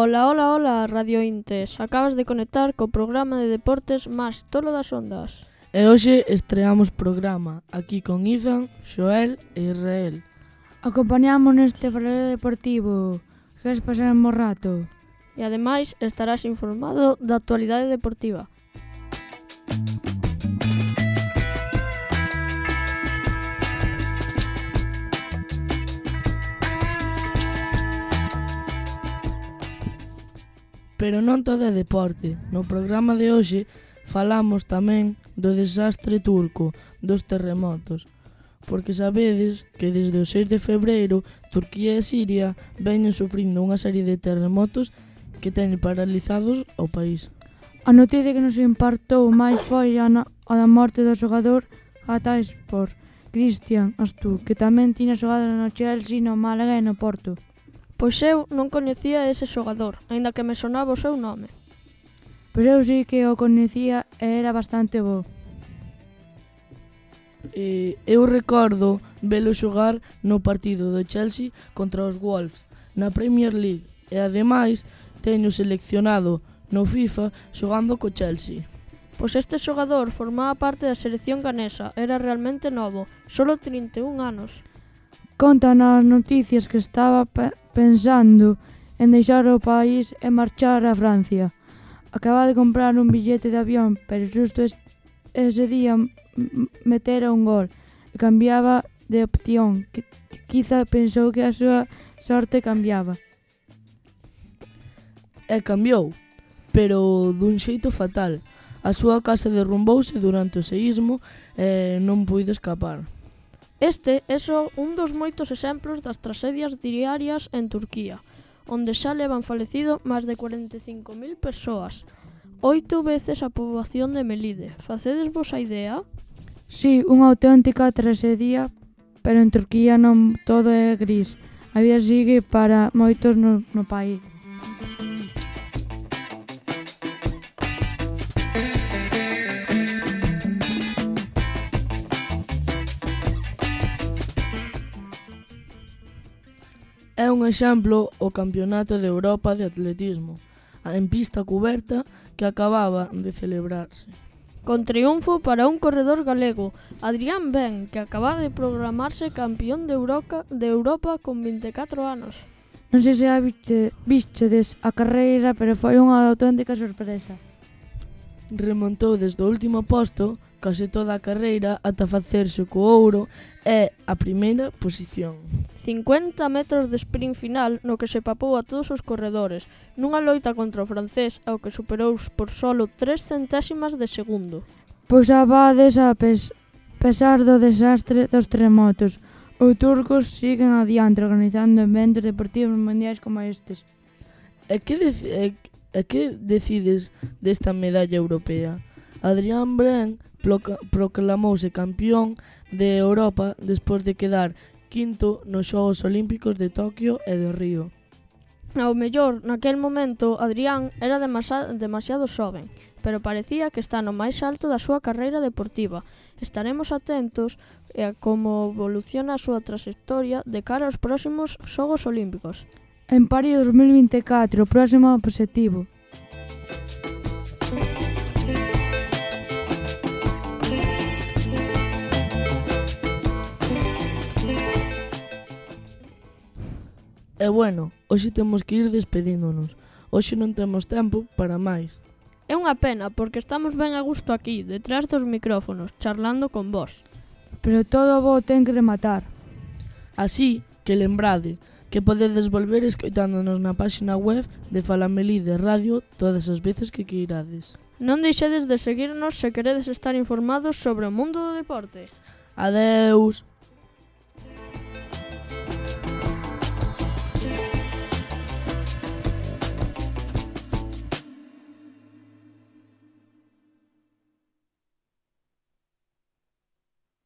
Ola, ola, ola, radiointes. Acabas de conectar co programa de deportes máis tolo das ondas. E hoxe estreamos programa, aquí con Izan, Xoel e Israel. Acompañamos neste faroleo deportivo. Queres pasar un bo rato? E ademais estarás informado da actualidade deportiva. Pero non todo é deporte. No programa de hoxe falamos tamén do desastre turco, dos terremotos. Porque sabedes que desde o 6 de febreiro Turquía e Siria veñen sufrindo unha serie de terremotos que teñen paralizados o país. A noticia que nos impactou máis foi a da morte do xogador Hatayspor, Christian Atsu, que tamén tiña xogado no Chelsea, no Málaga e no Porto. Pois eu non coñecía ese xogador, aínda que me sonaba o seu nome. Pois eu sí que o coñecía e era bastante bo. Eu recordo velo xogar no partido do Chelsea contra os Wolves na Premier League e ademais teño seleccionado no FIFA xogando co Chelsea. Pois este xogador formaba parte da selección ganesa, era realmente novo, solo 31 anos. Conta nas noticias que estaba pensando en deixar o país e marchar a Francia. Acaba de comprar un billete de avión, pero xusto ese día metera un gol e cambiaba de opción, que quizá pensou que a súa sorte cambiaba. E cambiou, pero dun xeito fatal. A súa casa derrumbouse durante o seísmo e non puido escapar. Este é só un dos moitos exemplos das tragedias diarias en Turquía, onde xa levan falecido máis de 45.000 persoas, 8 veces a poboación de Melide. Facedesvos a idea? Sí, unha auténtica tragedia, pero en Turquía non todo é gris. A vida sigue para moitos no país. É un exemplo o Campeonato de Europa de Atletismo, en pista cuberta que acababa de celebrarse. Con triunfo para un corredor galego, Adrián Ben, que acaba de proclamarse campeón de Europa con 24 anos. Non sei se vistedes a carreira, pero foi unha auténtica sorpresa. Remontou desde o último posto case toda a carreira ata facerse co ouro e a primeira posición. 50 metros de sprint final no que se papou a todos os corredores, nunha loita contra o francés ao que superou por solo 3 centésimas de segundo. Pois abades a pesar do desastre dos terremotos, os turcos siguen adiante organizando eventos deportivos mundiais como estes. E que decides desta medalla europea? Adrián Ben proclamouse campeón de Europa despois de quedar quinto nos Xogos Olímpicos de Toquio e de Río. Ao mellor, naquel momento, Adrián era demasiado xoven, pero parecía que está no máis alto da súa carreira deportiva. Estaremos atentos a como evoluciona a súa traxectoria de cara aos próximos Xogos Olímpicos. En París 2024, o próximo obxectivo. E bueno, hoxe temos que ir despedíndonos. Hoxe non temos tempo para máis. É unha pena, porque estamos ben a gusto aquí, detrás dos micrófonos, charlando con vós. Pero todo bo ten que rematar. Así que lembrade que podedes volver escoitándonos na páxina web de Falamelide Radio todas as veces que queirades. Non deixedes de seguirnos se queredes estar informados sobre o mundo do deporte. Adeus!